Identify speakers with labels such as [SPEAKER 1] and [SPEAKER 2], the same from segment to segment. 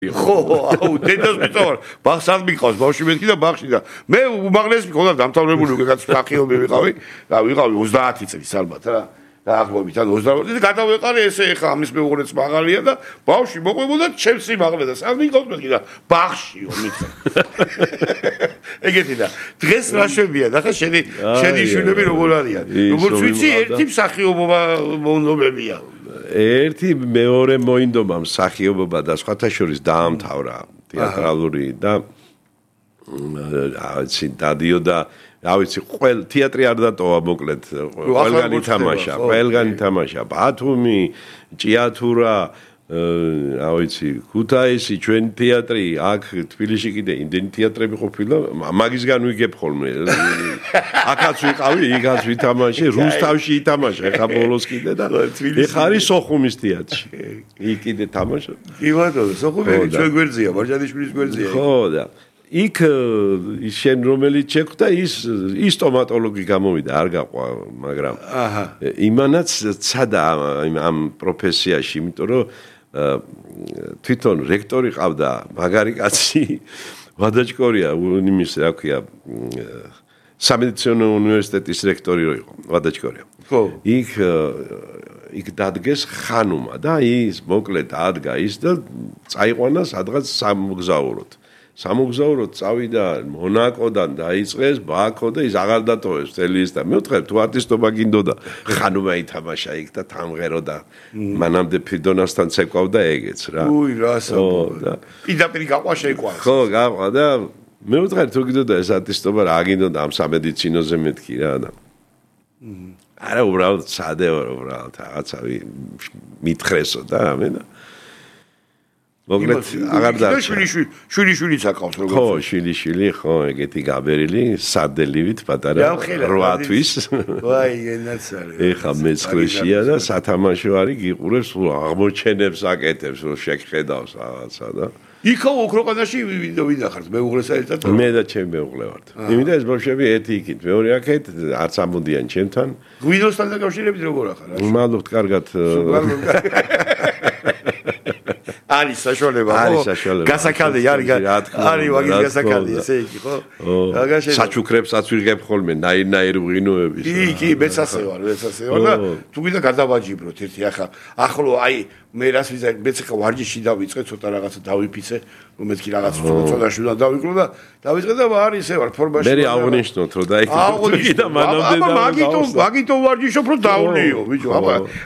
[SPEAKER 1] ხო, აუ, დედას მიწავარ. ბაღს არ მიყავს, ბავშვი მეთქი და ბაღში და მე უმაღლესი მქონდა დამთავრებული უკეთ სახიობი ვიყავი. და ვიყავი 30 წლის ალბათ რა. დაახლოებით ან 28 და გადავეყარე ესე ხა ამის მეუღლეც მაღალია და ბავშვი მოყვებოდა ჩემს სიმაღლე და სად მიყავს მეთქი და ბაღშიო მითხა. ეგეთი და დღეს რა შვებია და ხა შენი შვილები როგორ არიან? როგორც ვიცი, ერთი მსახიობობა მონობებია.
[SPEAKER 2] ერთი მეორე მოინდომა მსახიობობა და სხვათა შორის დაამთავრა თეატრალური და აიცი დადიოდა რა ვიცი ყველ თეატრი არ დატოვა მოკლედ ყველგან ითამაშა ბათუმი ჭიათურა რა ვიცი ქუთაისი ჩვენ თეატრი აქ თბილისში კიდე იმდენი თეატრები ყოფილა მაგისგან ვიგებ ხოლმე აქაც ვიყავი იქაც ვითამაშე რუსთავში ითამაშა ეხა ბოლოს კიდე და ეხა არის სოხუმის თეატრში იქ კიდე თამაშობ
[SPEAKER 1] კი ბატონო სოხუმი ჩვენ გვერდზეა მარჯანიშვილის გვერდზეა
[SPEAKER 2] ხო და იქ შენ რომელიც შეხვდა ის სტომატოლოგი გამოვიდა არ გაყვა მაგრამ იმანაც ცადა ამ პროფესიაში იმიტომ რომ თვითონ რექტორი ყავდა მაგარი კაცი ვადაჭკორია იმის რა ქვია სამედიცინო უნივერსიტეტის რექტორი რო იყო ვადაჭკორია
[SPEAKER 1] ხო
[SPEAKER 2] იქ დადგეს ხანუმა და ის მოკლედ ადგა ის და წაიყვანა სადღაც სამოგზაუროდ წავიდა მონაკოდან დაიწყეს ბაქო და ის აღარ დატოვეს მთელი ის და მე ვთქვი თუ არტისტობა გინდოდა ხანუმა ითამაშა იქ და თამღერო და მანამდე ფიდონასთან ცეკვავდა ეგეც რა
[SPEAKER 1] უი რასა პირდაპირ გაყვა შეიყვანს
[SPEAKER 2] ხო გაყვა და მე ვთქვი თუ გინდოდა ეს არტისტობა რა გინდოდა ამ სამედიცინოზე მეთქი რა და არა უბრალოდ სადეო უბრალოდ რაღაცა მითხრესო და რამე და მოგლეთ აღარ დარჩა
[SPEAKER 1] შვილიშვილიც აკავს როგორც
[SPEAKER 2] ხო შვილიშვილი ხო ეგეთი გაბერილი სადელივით პატარა 8 თვის
[SPEAKER 1] ვაი ენაცარი
[SPEAKER 2] ეხა მეცხრეშია და სათამაშო არის გიყურებს აღმოჩენებს აკეთებს რომ შეგხედავს რაღაცა და
[SPEAKER 1] იქო უკრაინაში ვინახართ მეუღლეს ერთად
[SPEAKER 2] მე და ჩემი მეუღლე ვართ იმიდა ეს ბავშვები ერთი იქით მეორე აქეთ არც ამოდიან ჩემთან
[SPEAKER 1] გვინოსთან დაკავშირებით როგორ ახარ
[SPEAKER 2] მადლობთ კარგად
[SPEAKER 1] არის საშუალება ხო გასაკალე არის ვაგის გასაკალე ესე იგი ხო
[SPEAKER 2] საჩუქრებსაც ვიღებ ხოლმე ნაირ ვღინოების
[SPEAKER 1] კი მეც ასე ვარ და თუ გინდა გადავაჯიბროთ ერთი ახლო აი მე რას ვიზა მეც ხა ვარჯიში დავიწყე ცოტა რაღაცა დავიფიცე რომ მეთქი რაღაც ცოტა შულა დავიკრო და დავიწყე და ვარ ისე ვარ ფორმაში
[SPEAKER 2] მე აღნიშნოთ რომ დაიქცე და მანამდე
[SPEAKER 1] მაგითო ვარჯიშობ რომ დავლიო ბიჭო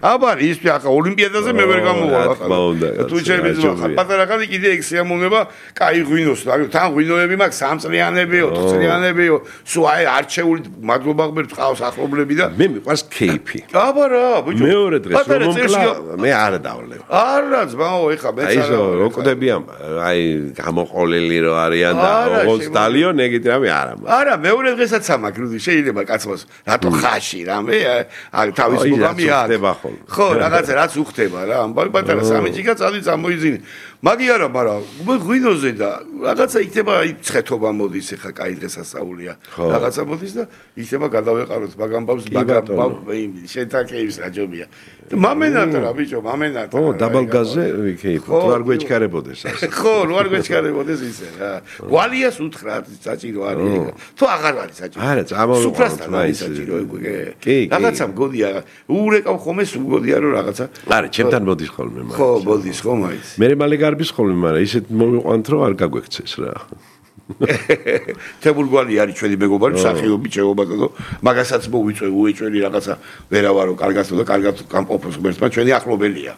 [SPEAKER 1] აბა ის ხა ოლიმპიადაზე მე ვერ გამოვარ ახლა თუ ჩემი პატარა ხანი კიდე ეგ შეამონება კაი ღვინოს თან ღვინოები მაქვს 3 წლიანებიო 4 წლიანებიო სულ აი არჩეული მადლობა ღმერთ ყავს ახლობლები და
[SPEAKER 2] მე მიყვარს კეიფი
[SPEAKER 1] აბა რა ბიჭო
[SPEAKER 2] მეორე დღეს რომ მომკლა მე არ დავვლევ
[SPEAKER 1] არა ძმაო ეხა მეც
[SPEAKER 2] არა ისო რო კვდებიან აი გამოყოლილი რო არიან და ოღონდ დალიონ ეგეთ რამე არა
[SPEAKER 1] მეორე დღესაც ამაკრუდი შეიძლება კაცმოს რატო ხაში რამე თავის პროგრამი აქვს ხო რაღაცა რაც უხდება რა ამბავი პატარა სამიჯიკა წადი წამოიძინე მაგი არა მაგრამ ღვინოზე და რაღაცა იქნება ცხეთობა მოდის ეხა კაი დღესასწაულია რაღაცა მოდის და იქნება გადავეყაროთ მაგ ამბავს შენთან კეიფს რაჯობია მამენათა რა ბიჭო მამენათა
[SPEAKER 2] ო დაბალგაზზე ვიქეიფ თუ არ გვეჩქარებოდეს ასე
[SPEAKER 1] ხო რო არ გვეჩქარებოდეს ისე რა გვალიას უთხრა საჭირო არის თუ აღარ არის საჭირო
[SPEAKER 2] არა წამოვიყვანოთ
[SPEAKER 1] სუფრასთან არის საჭირო კი რაღაცა მგოდია ურეკავ ხოლმე სუგოდია რომ რაღაცა
[SPEAKER 2] არა ჩემთან მოდის ხოლმე
[SPEAKER 1] მაგ ხო მოდის ხო მაიც
[SPEAKER 2] მე მალე გარბის ხოლმე მაგრამ ისეთ მოვიყვანთ რომ არ გაგვექცეს რა
[SPEAKER 1] თებურგვალი არის ჩვენი მეგობარი მსახიობი ჩეობათო მაგასაც მოვიწვე უეჭველი რაღაცა ვერავარო კარგად და კარგად გამყოფოს ღმერთმა ჩვენი ახლობელია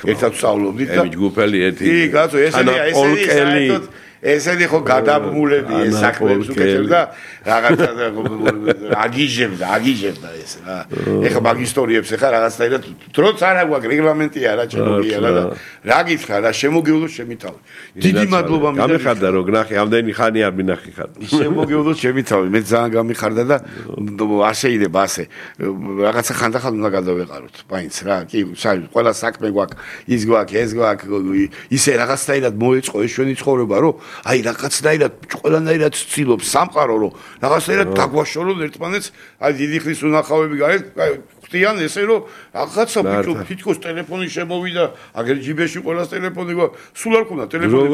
[SPEAKER 1] ერთად ვსწავლობდით და
[SPEAKER 2] ჯგუფელი ერთი
[SPEAKER 1] კი კაცო ესენი ესენი ხო გადაბმულები ეს საქმეებს უკეთებ და რაღაცა აგიჟებდა ეს რა ეხა მაგ ისტორიებს ეხა რაღაცნაირად დროც არ აქვს რეგლამენტია რა ჩემოგია და რა გითხრა რა შემოგეულოს ჩემი თავი დიდი მადლობა
[SPEAKER 2] გამიხარდა რომ გნახი ამდენი ხანი არ მინახი ხარ
[SPEAKER 1] შემოგეულოს ჩემი თავი მე ძალიან გამიხარდა და არ შეიძლება ასე რაღაცა ხანდახან უნდა გადავეყაროთ მაინც რა კი ყველა საქმე გვაქვს ის გვაქვს ეს გვაქვს ისე რაღაცნაირად მოეწყო ეს ჩვენი ცხოვრება რომ აი რაღაცნაირად ყველანაირად ცდილობს სამყარო რომ რაღაცნაირად დაგვაშორონ ერთმანეთს აი დიდი ხნის უნახავები გაიგეთ ხტიან ესე რომ რაღაცა თითქოს ტელეფონი შემოვიდა, აგერ ჯიბეში ყველას ტელეფონი, სულ არ ქონდა ტელეფონი.